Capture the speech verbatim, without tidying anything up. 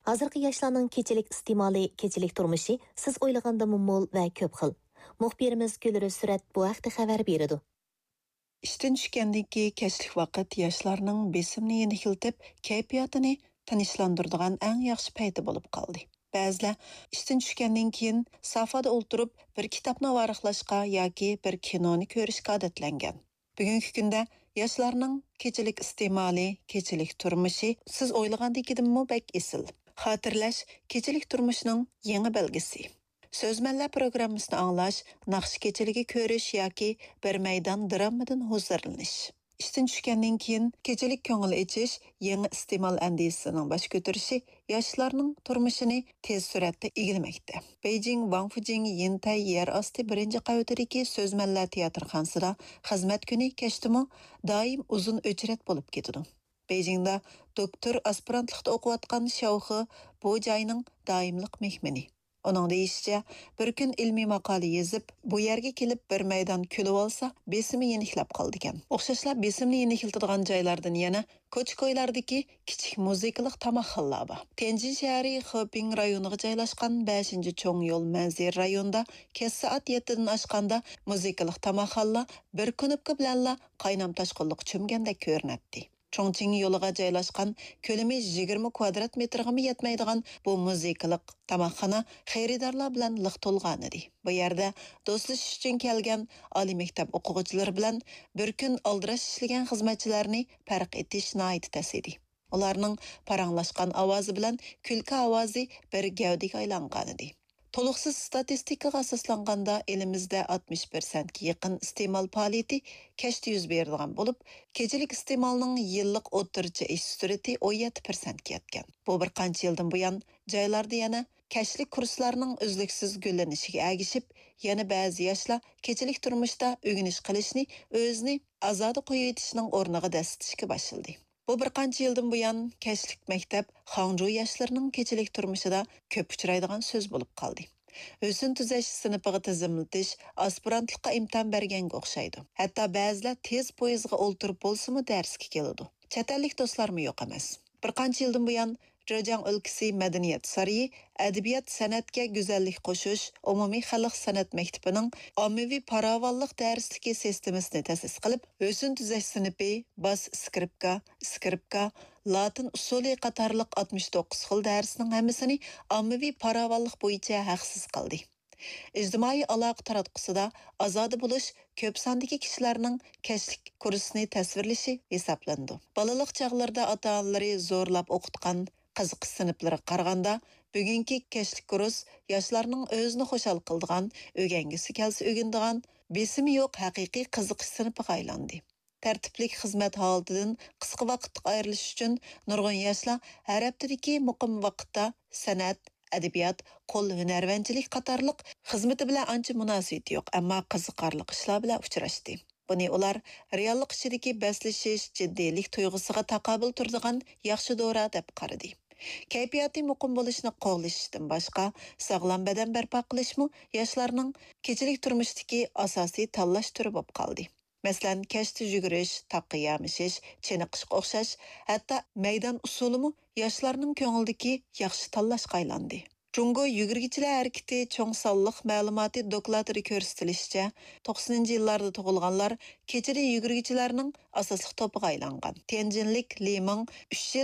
ھازىرقى ياشلارنىڭ كېچىلىك ئىستېمالى، كېچىلىك تۇرمۇشى سىز ئويلىغاندىنمۇ مول ۋە كۆپ خىل. مۇخبىرىمىز گۈلرۈز سۈرەت بۇ ھەقتە خەۋەر بېرىدۇ. ئىشتىن چۈشكەندىن كېيىن كەچلىك ۋاقىت ياشلارنىڭ بېسىمىنى يېنىكلىتىپ، كەيپىياتىنى تىنچلاندۇرىدىغان ئەڭ ياخشى پەيتى بولۇپ قالدى. بەزىلەر ئىشتىن چۈشكەندىن كېيىن سافادا ئولتۇرۇپ، بىر كىتابنى ۋاراقلاشقا ياكى بىر كىنونى كۆرۈشكە ئادەتلەنگەن. بۈگۈنكى كۈندە ياشلارنىڭ كېچىلىك ئىستېمالى، كېچىلىك تۇرمۇشى سىز ئويلىغاندىكىدىنمۇ بەك ئېسىل. خاتىرىلەش كېچىلىك تۇرمۇشنىڭ يېڭى بەلگىسى. سۆزمەنلەر پروگراممىسىنى ئاڭلاش، ناخشا كېچىلىكى كۆرۈش ياكى بىر مەيدان دراممىدىن ھۇزۇرلىنىش. ئىشتىن چۈشكەندىن كېيىن كېچىلىك كۆڭۈل ئېچىش يېڭى ئىستېمال ئەندىزىسىنىڭ باش كۆتۈرۈشى ياشلارنىڭ تۇرمۇشىنى تېز سۈرئەتتە ئىگىلىمەكتە. بېيجىڭ، ۋاڭفۇجىڭ، يىنتەي يەر ئاستى بىرىنچى قەۋىتىدىكى سۆزمەنلەر تىياتىرخانىسىدا خىزمەت كۈنى كەچتىمۇ دائىم ئۇزۇن ئۆچرەت بولۇپ كېتىدۇ. بېيجىڭدا دوكتور ئاسپىرانتلىقتا ئوقۇۋاتقان شياۋخې بۇ جاينىڭ دائىملىق مېھمىنى. ئۇنىڭ دېيىشىچە، بىر كۈن ئىلمىي ماقالە يېزىپ، بۇ يەرگە كېلىپ بىر مەيدان كۈلۈۋالسا، بېسىمى يېنىكلەپ قالىدىكەن. ئوخشاشلا بېسىمنى يېنىكلىتىدىغان جايلاردىن يەنە كوچا-كويلاردىكى كىچىك مۇزىكىلىق تاماقخانىلار بار. تيەنجىن شەھىرى خېپىڭ رايونىغا جايلاشقان بەشىنچى چوڭ يول مەنزىرە رايونىدا كەچ سائەت يەتتىدىن ئاشقاندا مۇزىكىلىق تاماقخانىلار بىر كۇنۇپكا بىلەنلا قاينام تاشقۇنلۇققا چۆمگەندەك كۆرۈنەتتى. چۇڭچىڭ يولىغا جايلاشقان، كۆلىمى يىگىرمە كۋادرات مېتىرغىمۇ يەتمەيدىغان بۇ مۇزىكىلىق تاماقخانا خېرىدارلار بىلەن لىق تولغانىدى. بۇ يەردە دوستلىشىش ئۈچۈن كەلگەن ئالىي مەكتەپ ئوقۇغۇچىلىرى بىلەن بىر كۈن ئالدىراش ئىشلىگەن خىزمەتچىلەرنى پەرق ئېتىش ناھايىتى تەس ئىدى. ئۇلارنىڭ پاراڭلاشقان ئاۋازى بىلەن كۈلكە ئاۋازى بىر گەۋدىگە ئايلانغانىدى. تولۇقسىز ستاتىستىكىغا ئاساسلانغاندا، ئېلىمىزدە ئاتمىش پىرسەنتكە يېقىن ئىستېمال پائالىيىتى كەچتە يۈز بېرىدىغان بولۇپ، كېچىلىك ئىستېمالنىڭ يىللىق ئوتتۇرىچە ئېشىش سۈرئىتى ئون يەتتە پىرسەنتكە يەتكەن. بۇ بىر قانچە يىلدىن بۇيان جايلاردا يەنە كەچلىك كۇرسلارنىڭ ئۈزلۈكسىز گۈللىنىشىگە ئەگىشىپ، يەنە بەزى ياشلار كېچىلىك تۇرمۇشتا ئۆگىنىش قىلىشنى ئۆزىنى ئازادە قويۇۋېتىشنىڭ ئورنىغا دەسسىتىشكە باشلىدى. بۇ بىر قانچە يىلدىن بۇيان كەچلىك مەكتەپ خاڭجۇ ياشلىرىنىڭ كېچىلىك تۇرمۇشىدا كۆپ ئۇچرايدىغان سۆز بولۇپ قالدى. ھۆسن تۈزەش سىنىپىغا تىزىملىتىش ئاسپىرانتلىققا ئىمتىھان بەرگەنگە ئوخشايدۇ. ھەتتا بەزىلەر تېز پويىزغا ئولتۇرۇپ بولسىمۇ دەرسكە كېلىدۇ. چەت ئەللىك دوستلارمۇ يوق ئەمەس. بىر قانچە يىلدىن بۇيان جېجياڭ ئۆلكىسى مەدەنىيەت سارىيى ئەدەبىيات، سەنئەتكە گۈزەللىك قوشۇش ئومۇمىي خەلق سەنئەت مەكتىپىنىڭ ئاممىۋى پاراۋانلىق دەرسلىكى سىستېمىسىنى تەسىس قىلىپ، ھۆسن تۈزەش سىنىپى، باس ئىسكرىپكا، ئىسكرىپكا، لاتىن ئۇسسۇلى قاتارلىق ئاتمىش توققۇز خىل دەرسنىڭ ھەممىسىنى ئاممىۋى پاراۋانلىق بويىچە ھەقسىز قىلدى. ئىجتىمائىي ئالاقە تاراتقۇسىدا ئازادە بولۇش كۆپ ساندىكى كىشىلەرنىڭ كەچلىك كۇرسنى تەسۋىرلىشى ھېسابلىنىدۇ. بالىلىق چاغلىرىدا ئاتا-ئانىلىرى زورلاپ ئوقۇتقان قىزىقىش سىنىپلىرىغا قارىغاندا، بۈگۈنكى كەچلىك كۇرس ياشلارنىڭ ئۆزىنى خۇشال قىلىدىغان، ئۆگەنگۈسى كەلسە ئۆگىنىدىغان، بېسىمى يوق ھەقىقىي قىزىقىش سىنىپىغا ئايلاندى. تەرتىپلىك خىزمەت ھالىتىدىن قىسقا ۋاقىتلىق ئايرىلىش ئۈچۈن نۇرغۇن ياشلار ھەر ھەپتىدىكى مۇقىم ۋاقىتتا سەنئەت، ئەدەبىيات، قول ھۈنەرۋەنچىلىك قاتارلىق خىزمىتى بىلەن ئانچە مۇناسىۋىتى يوق، ئەمما قىزىقارلىق ئىشلار بىلەن ئۇچراشتى. بۇنى ئۇلار رېئاللىق ئىچىدىكى بەسلىشىش، جىددىيلىك تۇيغۇسىغا تاقابىل تۇرىدىغان ياخشى دورا دەپ قارىدى. كەيپىياتى مۇقىم بولۇشنى قوغلىشىشتىن باشقا، ساغلام بەدەن بەرپا قىلىشمۇ ياشلارنىڭ كېچىلىك تۇرمۇشتىكى ئاساسىي تاللاش تۈرى بولۇپ قالدى. مەسىلەن، كەچتە يۈگۈرۈش، تاغقا يامىشىش، چېنىقىشقا ئوخشاش، ھەتتا مەيدان ئۇسسۇلىمۇ ياشلارنىڭ كۆڭلىدىكى ياخشى تاللاشقا ئايلاندى. جۇڭگو يۈگۈرگۈچىلەر ھەرىكىتى چوڭ سانلىق مەلۇماتى دوكلاتىدا كۆرسىتىلىشىچە، توقسىنىنچى يىللاردا تۇغۇلغانلار كېچىدە يۈگۈرگۈچىلەرنىڭ ئاساسلىق توپىغا ئايلانغان. تيەنجىنلىك لى مىڭ ئۈچ يىل